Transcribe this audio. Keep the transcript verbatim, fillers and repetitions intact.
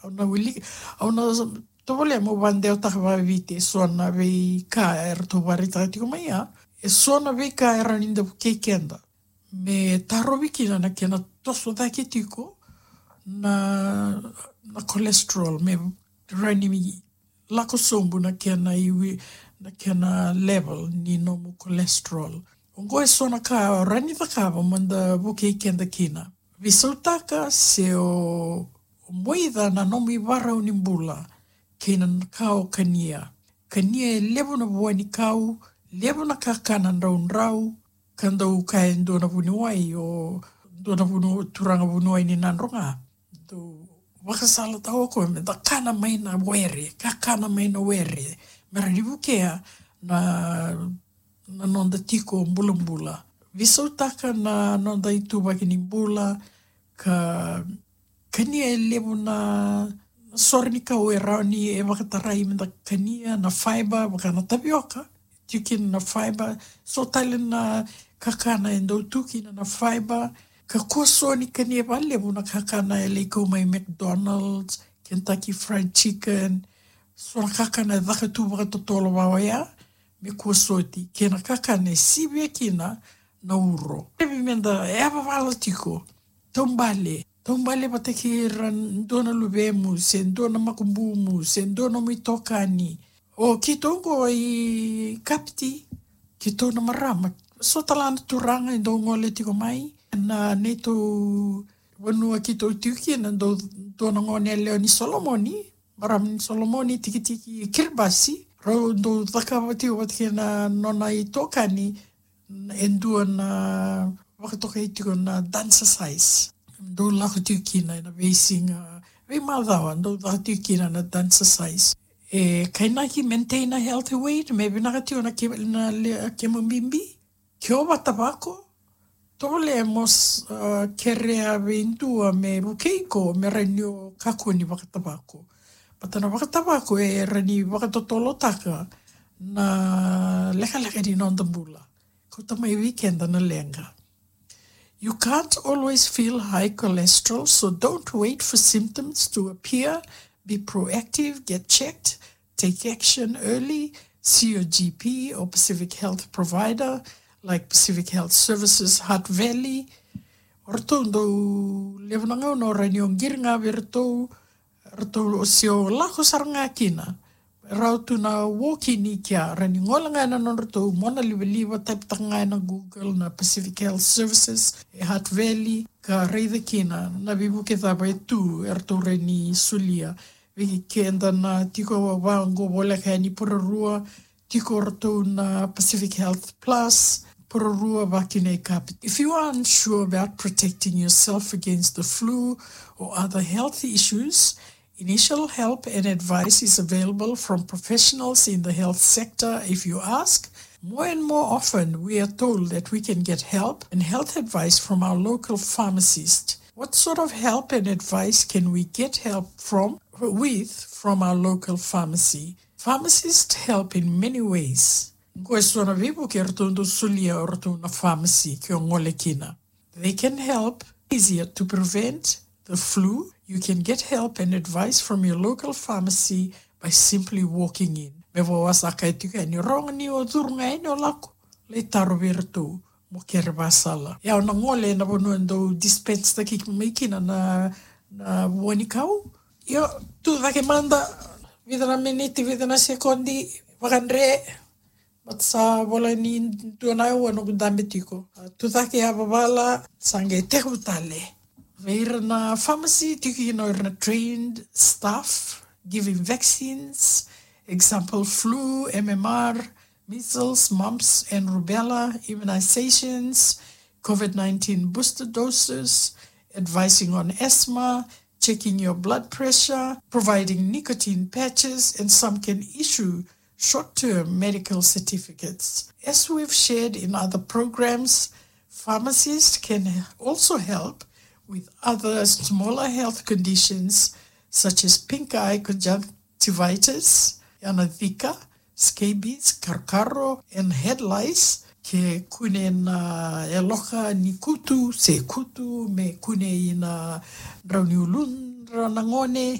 Au na wilika, au na tovolea meu vakadewataka vakaviti e so na veika eratou vakaraitaka tiko mai ya. E so na veika e rawa ni da vukei keda me tarovi kina na kena toso cake tiko na, na cholesterol, me rawa ni lako sobu na kena iwi, na kena level ni nomu cholesterol. Oqo e so na ka rawa ni cakava meda vukei keda kina. Veisautaka se o moica na nomu ivarau ni bula kei na ka o kania. Kania e levu na vua ni kau, levu na kakana draudrau, ka dau kaya e dua na vuniwai, o dua na vuniwai, turaga vuniwai ni Nadroga. Dau vakasalataka o koya meda kana mai na were, kakana mai na were, me rawa ni vukea na, na noda tiko bulabula. Veisautaka na noda ituvaki ni bula, ka kania e levu na, na sore ni kau e rawa ni e vakatarai meda kania, na fiber, vaka na tavioka, tiko kina na fiber. So tale na kakana e dau tu kina na fiber. Kakua so ni kania vakalevu na kakana e lai kau mai McDonald's, Kentucky Fried Chicken. So na kakana e caka tu vakatotolo vaka oya, me kua soti, kei na kakana e sivia kina na uro. Dodonu meda yavavala tiko, taubale, taubale vata kei ira dua na luvemu, se dua na makubumu, se dua na nomu itokani. O keitou qo i Kapiti, keitou na marama, so tale na turaga e dau gole tiko mai. Na neitou vanua keitou tiko kina, dau dua na gone yalewa ni Solomoni, marama ni Solomoni, tikitiki Kiribati, rau dau cakava tiko vata kei na nona itokani e dua na vakatokai tiko na dancercise. Dau lako tiko kina ena veisiga, veimacawa, dau caka tiko kina na dancercise. E kainaki maintain a healthy weight, me vinaka tiko na ke-, na le-, kemu bibi. Ke o vakatavako, tovolea mo s-, a, kerea vei dua me vukei iko me rawa ni o kakua ni vakatavako. Baleta na vakatavako e rawa ni vakatotolotaka na lekaleka ni noda bula. Kauta mai vei keda na leqa. You can't always feel high cholesterol, so don't wait for symptoms to appear. Be proactive, get checked, take action early, see your G P or Pacific Health provider like Pacific Health Services Hutt Valley. O ratou dau levu na gauna o rawa ni o qiri ga vei ratou, ratou o sega ni lako sara ga kina. Ratou na walk-in i kea, rawa ni gole ga ena nodratou monalivaliva, type-taka ga ena Google na Pacific Health Services e Hutt Valley, ka raica kina na veivuke cava e tu, eratou rawa ni solia. Vei keda na tiko vaqo voleka yani Porirua, tiko ratou na Pacific Health Plus, Porirua vaka kina i Kapiti. If you are unsure about protecting yourself against the flu or other health issues, initial help and advice is available from professionals in the health sector if you ask. More and more often, we are told that we can get help and health advice from our local pharmacist. What sort of help and advice can we get help from, with from our local pharmacy? Pharmacists help in many ways. Qo e so na veivuke eratou dau solia o ratou na pharmacy ke o gole kina. They can help easier to prevent the flu. You can get help and advice from your local pharmacy by simply walking in. Me vaka au sa kaya tiko yani, rawa ga ni o curu ga yani o lako, lai taro vei iratou mo kere vakasala. Ia, au na gole ena vanua e dau dispense-taki mai kina na, na vua ni kau. Io, tu cake mada, vica na miniti, vica na sekodi, vakadre. Baleta sa voleka ni dua na aua noqu dabe tiko. A, tu cake, yavavala, sa qai tekivu tale. Vei ira na pharmacy, tiko kina o ira na trained staff giving vaccines, example flu, M M R, measles, mumps and rubella, immunizations, COVID nineteen booster doses, advising on asthma, checking your blood pressure, providing nicotine patches, and some can issue short-term medical certificates. As we've shared in other programs, pharmacists can also help with other smaller health conditions such as pink eye conjunctivitis, yana zika, scabies, karokaro, and head lice, ke kune na yaloka ni kutu, se kutu, me kune ina drau ni uludra na gone,